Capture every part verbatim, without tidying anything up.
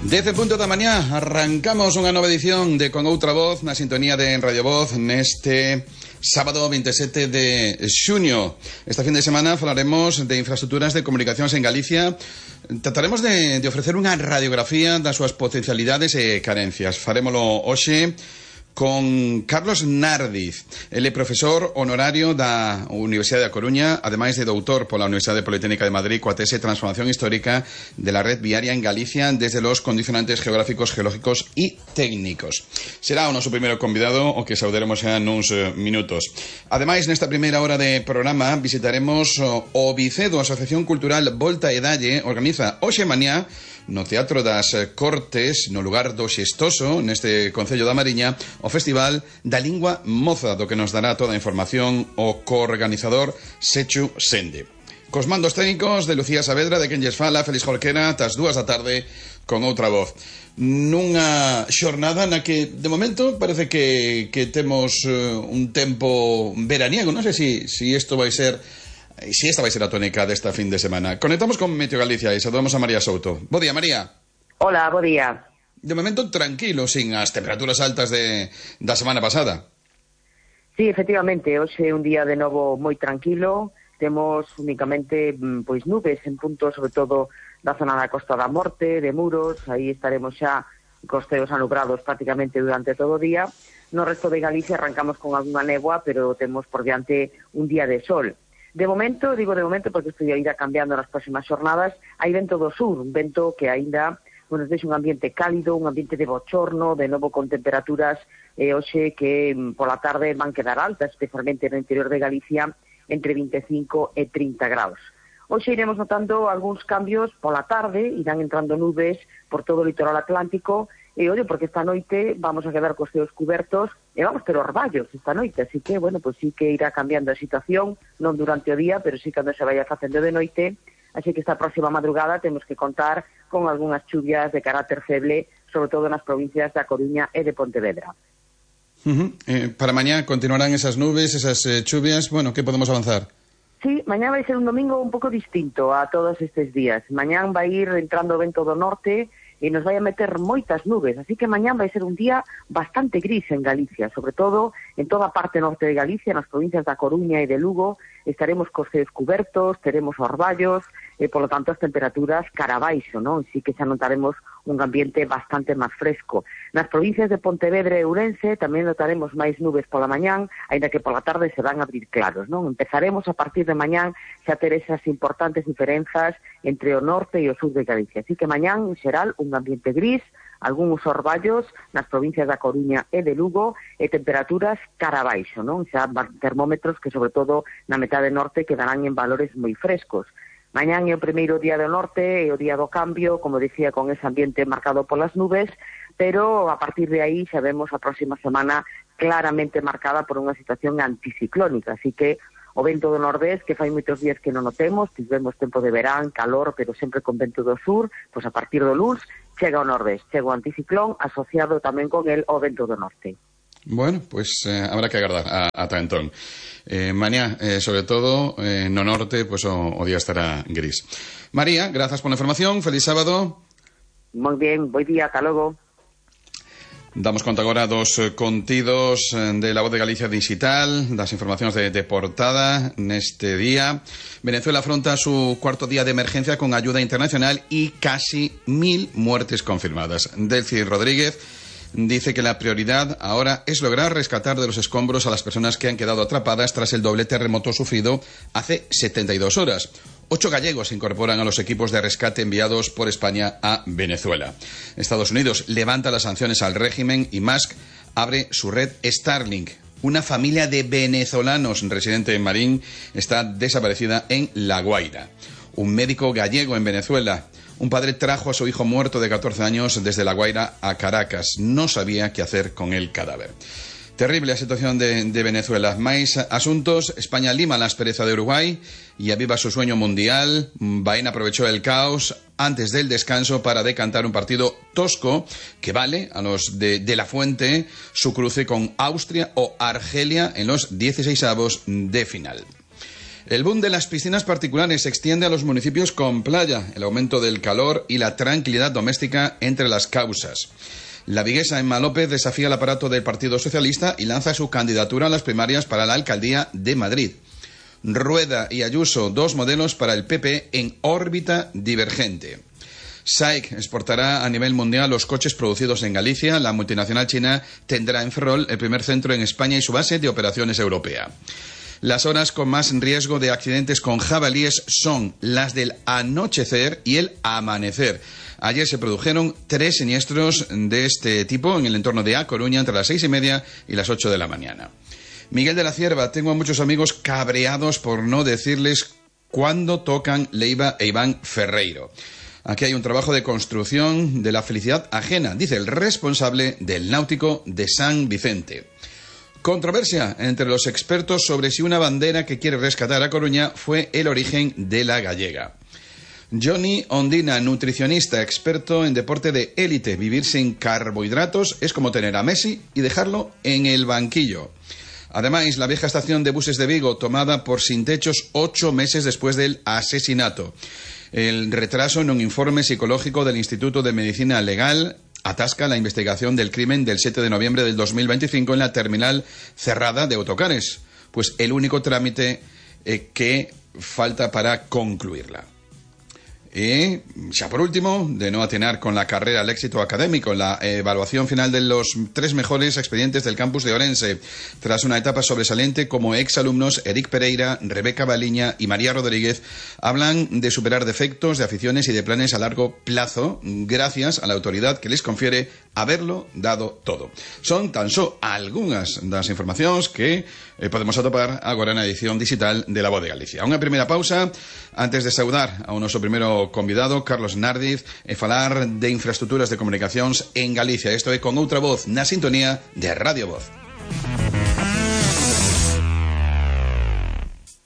Dez e punto da mañá, arrancamos unha nova edición de Con Outra Voz na sintonía de Radio Voz neste sábado veintisiete de xuño. Esta fin de semana falaremos de infraestructuras de comunicacións en Galicia. Trataremos de, de ofrecer unha radiografía das súas potencialidades e carencias. Farémolo hoxe con Carlos Nardiz. Ele é profesor honorario da Universidade da Coruña, ademais de doutor pola Universidade Politécnica de Madrid coa tese Transformación Histórica de la Red Viaria en Galicia desde los condicionantes geográficos, geológicos e técnicos. Será o noso primeiro convidado, o que saudaremos xa nuns uh, minutos. Ademais, nesta primeira hora de programa visitaremos uh, o Vicedo, a Asociación Cultural Volta e Dalle, organiza hoxe mañá no Teatro das Cortes, no lugar do Xestoso, neste Concello da Mariña, o Festival da Lingua Moza, do que nos dará toda a información o coorganizador Sechu Sende. Cos mandos técnicos de Lucía Saavedra, de quen lles fala, Félix Jorquera, tas dúas da tarde, con Outra Voz. Nunha xornada na que, de momento, parece que, que temos uh, un tempo veraniego. Non sei se si, si isto vai ser... Si esta vai ser a tónica desta fin de semana. Conectamos con Meteo Galicia e saludamos a María Souto. Bo día, María. Hola, bo día. De momento tranquilo, sin as temperaturas altas de, da semana pasada. Sí, efectivamente, hoxe é un día de novo moi tranquilo. Temos únicamente pois nubes en puntos, sobre todo da zona da Costa da Morte, de Muros. Aí estaremos xa costeos anubrados prácticamente durante todo o día. No resto de Galicia arrancamos con algunha néboa, pero temos por diante un día de sol. De momento, digo de momento porque isto irá cambiando nas próximas xornadas, hai vento do sur, un vento que aínda bueno, deixa un ambiente cálido, un ambiente de bochorno, de novo con temperaturas eh, hoxe que pola tarde van quedar altas, especialmente no interior de Galicia, entre vinte e cinco e trinta graus. Hoxe iremos notando algúns cambios pola tarde, irán entrando nubes por todo o litoral atlántico, e ollo, porque esta noite vamos a quedar cos ceos cubertos e vamos ter orballos esta noite, así que, bueno, pues sí que irá cambiando a situación, non durante o día, pero sí cando se vaya facendo de noite, así que esta próxima madrugada temos que contar con algunhas chuvias de carácter feble, sobre todo nas provincias da Coruña e de Pontevedra. Uh-huh. Eh, para mañá continuarán esas nubes, esas eh, chuvias, bueno, que podemos avanzar? Sí, mañá vai ser un domingo un pouco distinto a todos estes días. Mañán vai ir entrando o vento do norte e nos vai a meter moitas nubes, así que mañán vai ser un día bastante gris en Galicia, sobre todo en toda a parte norte de Galicia, nas provincias da Coruña e de Lugo, estaremos cos ceos cubertos, teremos orballos, e polo tanto as temperaturas cara baixo, non? Así que xa notaremos un ambiente bastante máis fresco. Nas provincias de Pontevedra e Ourense tamén notaremos máis nubes pola mañán, aínda que pola tarde se van a abrir claros, non? Empezaremos a partir de mañán xa ter esas importantes diferenzas entre o norte e o sur de Galicia. Así que mañán, en xeral, un ambiente gris, algúns orballos nas provincias da Coruña e de Lugo e temperaturas cara baixo, non? Xa termómetros que, sobre todo, na metade norte quedarán en valores moi frescos. Mañán é o primeiro día do norte, é o día do cambio, como dicía, con ese ambiente marcado polas nubes, pero a partir de aí xa vemos a próxima semana claramente marcada por unha situación anticiclónica, así que o vento do nordés, que fai moitos días que non o temos, tivemos tempo de verán, calor, pero sempre con vento do sur, pois a partir do luns chega o nordés, chega o anticiclón asociado tamén con el o vento do norte. Bueno, pues eh, habrá que agardar a, ata entón. Eh, mañá, eh, sobre todo, eh, no norte, pues o, o día estará gris. María, grazas pola información, feliz sábado. Moi bien, boi día, ata logo. Damos conta agora dos contidos de La Voz de Galicia Digital, das informacións de, de portada neste día. Venezuela afronta su cuarto día de emergencia con ayuda internacional y casi mil muertes confirmadas. Delcy Rodríguez dice que la prioridad ahora es lograr rescatar de los escombros a las personas que han quedado atrapadas tras el doble terremoto sufrido hace setenta y dos horas. Ocho gallegos se incorporan a los equipos de rescate enviados por España a Venezuela. Estados Unidos levanta las sanciones al régimen y Musk abre su red Starlink. Una familia de venezolanos residente en Marín está desaparecida en La Guaira. Un médico gallego en Venezuela. Un padre trajo a su hijo muerto de catorce años desde La Guaira a Caracas. No sabía qué hacer con el cadáver. Terrible a situación de, de Venezuela. Máis asuntos. España lima la aspereza de Uruguay y aviva su sueño mundial. Baena aprovechó el caos antes del descanso para decantar un partido tosco que vale a los de, de la Fuente su cruce con Austria o Argelia en los dieciseisavos de final. El boom de las piscinas particulares se extiende a los municipios con playa, el aumento del calor y la tranquilidad doméstica entre las causas. La viguesa Emma López desafía el aparato del Partido Socialista y lanza su candidatura a las primarias para la alcaldía de Madrid. Rueda y Ayuso, dos modelos para el P P en órbita divergente. S A I C exportará a nivel mundial los coches producidos en Galicia. La multinacional china tendrá en Ferrol el primer centro en España y su base de operaciones europea. Las horas con más riesgo de accidentes con jabalíes son las del anochecer y el amanecer. Ayer se produjeron tres siniestros de este tipo en el entorno de A Coruña entre las seis y media y las ocho de la mañana. Miguel de la Cierva, tengo a muchos amigos cabreados por no decirles cuándo tocan Leiva e Iván Ferreiro. Aquí hay un trabajo de construcción de la felicidad ajena, dice el responsable del Náutico de San Vicente. Controversia entre los expertos sobre si una bandera que quiere rescatar a Coruña fue el origen de la gallega. Johnny Ondina, nutricionista, experto en deporte de élite. Vivir sin carbohidratos es como tener a Messi y dejarlo en el banquillo. Además, la vieja estación de buses de Vigo, tomada por sin techos ocho meses después del asesinato. El retraso en un informe psicológico del Instituto de Medicina Legal atasca la investigación del crimen del siete de noviembre del dos mil veinticinco en la terminal cerrada de autocares. Pues el único trámite eh, que falta para concluirla. Y ya por último, de no atinar con la carrera al éxito académico, la evaluación final de los tres mejores expedientes del campus de Orense. Tras una etapa sobresaliente, como exalumnos Eric Pereira, Rebeca Baliña y María Rodríguez hablan de superar defectos, de aficiones y de planes a largo plazo, gracias a la autoridad que les confiere haberlo dado todo. Son tan só algunhas das informacións que eh, podemos atopar agora na edición digital de La Voz de Galicia. Unha primeira pausa antes de saudar ao noso primeiro convidado, Carlos Nardiz, e falar de infraestructuras de comunicacións en Galicia. Isto é Con Outra Voz, na sintonía de Radio Voz.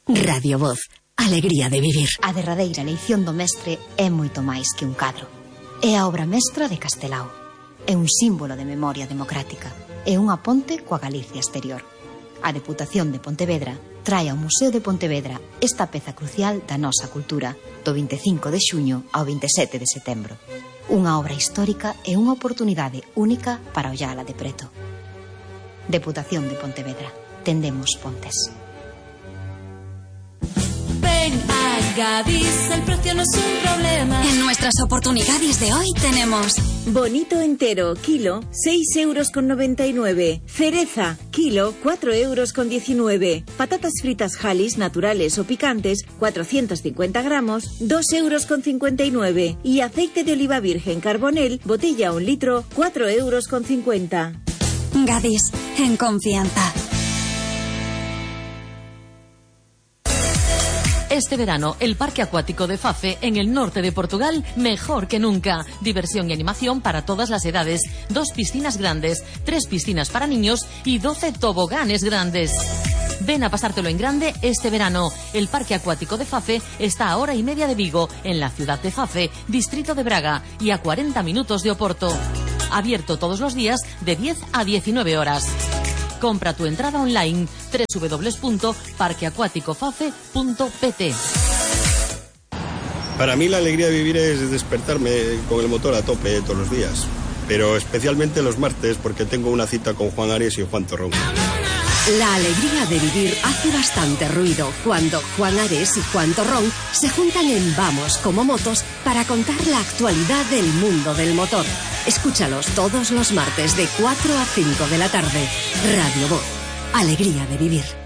Radio Voz, alegría de vivir. A derradeira eleición do mestre é moito máis que un cadro. É a obra mestra de Castelao. É un símbolo de memoria democrática. É unha ponte coa Galicia exterior. A Deputación de Pontevedra trae ao Museo de Pontevedra esta peza crucial da nosa cultura do vinte e cinco de xuño ao vinte e sete de setembro. Unha obra histórica e unha oportunidade única para ollala de preto. Deputación de Pontevedra. Tendemos pontes. Ven a Gadis, el precio no es un problema. En nuestras oportunidades de hoy tenemos bonito entero, kilo, seis euros con noventa y nueve. Cereza, kilo, cuatro euros con diecinueve. Patatas fritas Halis, naturales o picantes, cuatrocientos cincuenta gramos, dos euros con cincuenta y nueve. Y aceite de oliva virgen Carbonel, botella un litro, cuatro euros con cincuenta. Gadis, en confianza. Este verano, el Parque Acuático de Fafe, en el norte de Portugal, mejor que nunca. Diversión y animación para todas las edades. Dos piscinas grandes, tres piscinas para niños y doce toboganes grandes. Ven a pasártelo en grande este verano. El Parque Acuático de Fafe está a hora y media de Vigo, en la ciudad de Fafe, distrito de Braga, y a cuarenta minutos de Oporto. Abierto todos los días de diez a diecinueve horas. Compra tu entrada online doble u doble u doble u punto parque acuático fafe punto p t. Para mí la alegría de vivir es despertarme con el motor a tope todos los días, pero especialmente los martes porque tengo una cita con Juan Ares y Juan Torrón. La alegría de vivir hace bastante ruido cuando Juan Ares y Juan Torrón se juntan en Vamos como Motos para contar la actualidad del mundo del motor. Escúchalos todos los martes de cuatro a cinco de la tarde. Radio Voz, alegría de vivir.